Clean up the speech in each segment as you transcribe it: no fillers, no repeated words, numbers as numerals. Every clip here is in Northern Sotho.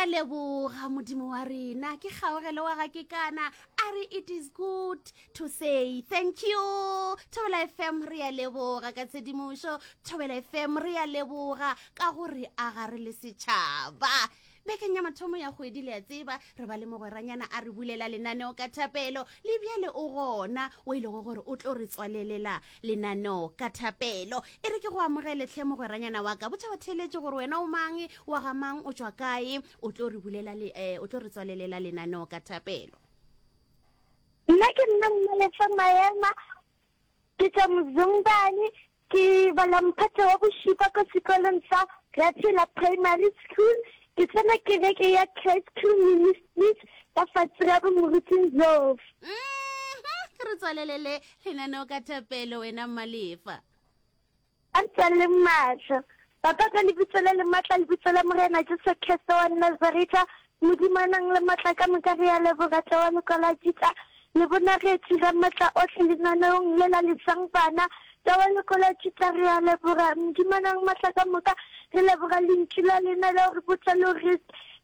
a leboga Modimo wa rena. Ke kgaogelo wa ga Kekana a re it is good to say thank you. Thobela FM re a leboga ka tshedimošo. Thobela FM re a leboga ka gore a ga re le setšhaba. Bekeng ya mathomo ya kgwedi le a tseba re ba le mogweranyana a re bulela lenaneo ka thapelo le bjale o gona o e lego gore o tlo re tswalelela lenaneo ka thapelo. E re ke go amogele hle mogweranyana wa ka. Botša batheeletši gore wena o mang, wa ga mang, o tšwa kae, o tlo re bulela le, eh, o tlo re tswalelela lenaneo ka thapelo. Nna ke nna Mmalefa Maema, ke tšwa Mzongane, ke bala mphato wa bošupa ko sekolong sa Raphela Primary School. Ke tsena kereke ya Christ Crew Ministries ka fase ga bo Moruti Ndlovu. Mhm, re tswalelele lenaneo ka thapelo wena Mmalefa. A re tswaleleng mahlo. Papa, ka Lebitso le le matla, Lebitso la Morena Jesu Kriste wa Nazaretha, Modimo a nang le matla ka moka, re a leboga tle wa Lekwalo la Juda, le bonagetše Ramatla ohle lenaneong le la Lesang Bana. Tle wa Lekwalo la Juda, re a leboga. Modimo a nang matla ka moka, re leboga Lentšu la lena la go re botša le gore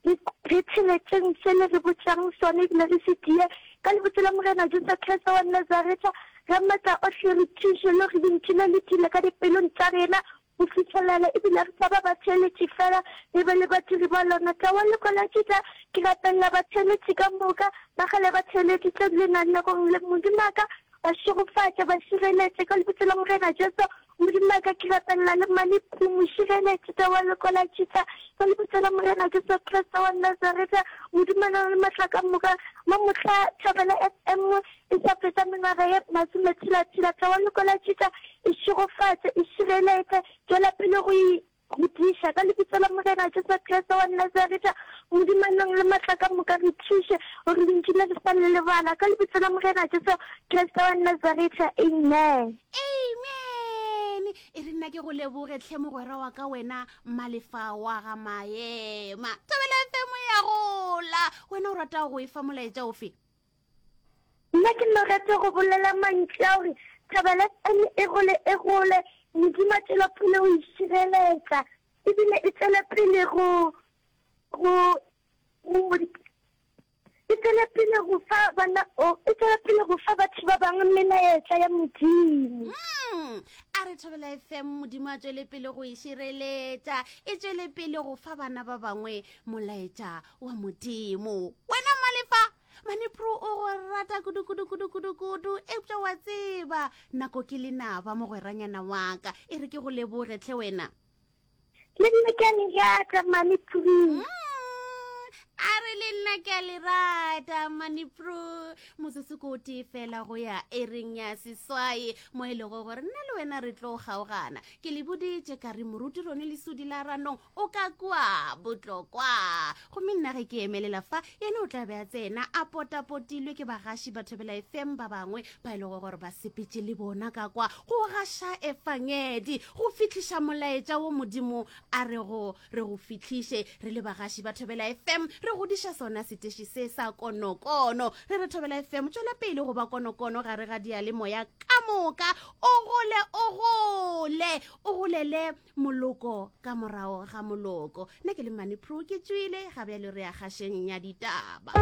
re, re tsheletšeng se le re botšang sona ebile re se tie. Ka Lebitso la Morena Jesu Kriste wa Nazaretha, Ramatla ohle, re thuše le gore Lentšu le le dule ka dipelong tša rena go fihlelela ebile re sa ba batheeletši fela, re be le badiri ba lona. Tla wa leko la Juda, ke rapelela batheeletši ka moka, ba kgale ba theeleditše lenanegong le. Modimo a ka ba šegofatša, ba šireletše ka Lebitso la Morena Jesu. Modimo a ka, ke rapelela le Mmane Phu, mo šireletše. Tla wa leko la Juda, ka Lebitso la Morena Jesu Kriste wa Nazaretha. Modimo a na le matla ka moka, mo mohla Thobela FM E sa fetša mengwaga ye masometshela-tshela, tla wa loko la Juda e šegofatše, e šireletše, tšwela pele go e godiša. Ka Lebitso la Morena Jesu Kriste wa Nazaretha, Modimo a nang le matla ka moka, re thuše gore Lentšu le re sa le lebala. Ka Lebitso la Morena Jesu Kriste wa Nazaretha, amen. Amen. E re nna ke go leboge tlhe mogwera wa ka wena Malefa wa ga Maema. Thobela FM ya gola. Wena o rata go e fa molaetša ofe? Nna ke no rata go bolela mantšu a gore Thobela FM e gole e gole, Modimo a tšwela pele go e šireletša ebile e tšwele pele go go go e tšwele pele go fa bana o e tšwele pele go fa batho ba bangwe melaetša ya Modimo. Mm, a re Thobela FM Modimo a tšwele pele go e šireletša, e tšwele pele go fa bana ba bangwe molaetša wa Modimo. Wena Malefa, Manipro o go rata kudu kudu kudu kudu kudu eupša wa tseba nako ke lenaba mogweranyana wa ka e re ke go leboge tlhe wena. Le nna ke a le rata Manipro. Mm, a re le nna ke a le rata Manipro. Motsotso ko o tee fela go ya ereng ya seswai mo e lego gore nna le wena re tlo kgaogana. Ke le boditše ka re moruti Rone Lesodi la Ranong o ka kua botlokwa gomme nna ge ke emelela fa yena o tla be a tsena a potapotilwe ke bagaši ba thobela fm ba bangwe ba e lego gore ba sepetše le bona ka kwa go gaša efangedi go fihliša molaetša wo modimo a rego re go fihliše re le bagaši ba thobela fm re godiša sona seteši se sa konokono re re thobela fm tšwela pele go ba konokono gare ga diyalemoya ka moka o gole o gole o golele moloko ka morago ga moloko. Nna ke le Mane Pro ke tšwile, ga bjale re ya kgašeng ya ditaba.